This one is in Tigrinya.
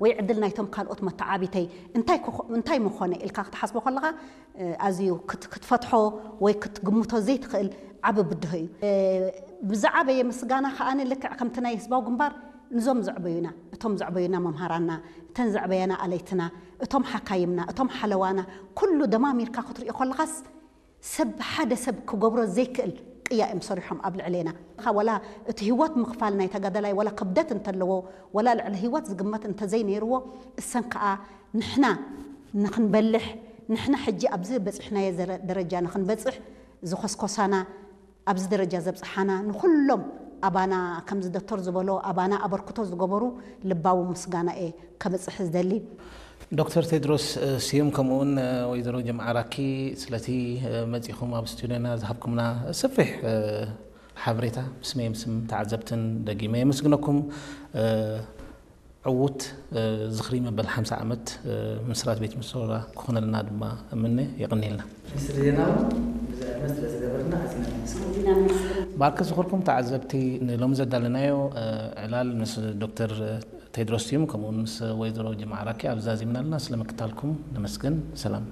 ወይ ዕድል ናይቶም ካልኦት መተዓቢተይ እንታይ እንታይ ምኾነ ኢልካ ክትሓስቦ ከለኻ ኣዝዩ ክትፈትሖ ወይ ክትግምቶ ዘይትኽእል ዓቢ ብድሆ እዩ። ብዝዓበየ ምስጋና ከኣ ልክዕ ከምቲ ናይ ህዝባዊ ግንባር ንዞም ዘዕበዩና፣ እቶም ዘዕበዩና መምሃራና፣ እተን ዘዕበያና ኣለይትና፣ እቶም ሓካይምና፣ እቶም ሓለዋና፣ ኩሉ ደማሚርካ ክትሪኦ ከለኻስ ሰብ ሓደ ሰብ ክገብሮ ዘይክእል ቅያ እዮም ሰሪሖም ኣብ ልዕሌና። ወላ እቲ ህይወት ምኽፋል ናይ ተጋዳላይ ወላ ክብደት እንተለዎ፣ ወላ ልዕሊ ህይወት ዝግመት እንተዘይነይርዎ፣ እሰን ከኣ ንሕና ንኽንበልሕ፣ ንሕና ሕጂ ኣብዚ በጺሕናዮ ደረጃ ንኽንበጽሕ ዝኾስኮሳና፣ ኣብዚ ደረጃ ዘብጽሓና ንኹሎም ኣባና ከምዚ ዶክተር ዝበሎ ኣባና ኣበርክቶ ዝገበሩ ልባዊ ምስጋና እየ ከብጽሕ ዝደሊ። ዶክተር ቴድሮስ ስዩም ከምኡውን ወይዘሮ ጀምዓ ራኪ ስለቲ መጺኹም ኣብ ስቱዲዮና ዝሃብኩምና ሰፊሕ ሓበሬታ ብስመይም ስም ተዓዘብትን ደጊመ የመስግነኩም። ዕዉት ዝኽሪ መበል ሓምሳ ዓመት ምስራት ቤት መስወራ ክኾነልና ድማ እምነ። የቕንየልና። ሚኒስትር ዜና እውን ብዙሕ ዕድመ ስለ ዝገበርና ኣዚና ነመስግን። ባርከ ዝኾርኩም ተዓዘብቲ ንሎሚ ዘዳለናዮ ዕላል ምስ ዶክተር ቴድሮስ ስዩም ከምኡውን ምስ ወይዘሮ ጀምዓ ራኪ ኣብዚ ዛዚምና ኣለና። ስለ ምክታልኩም ነመስግን። ሰላም።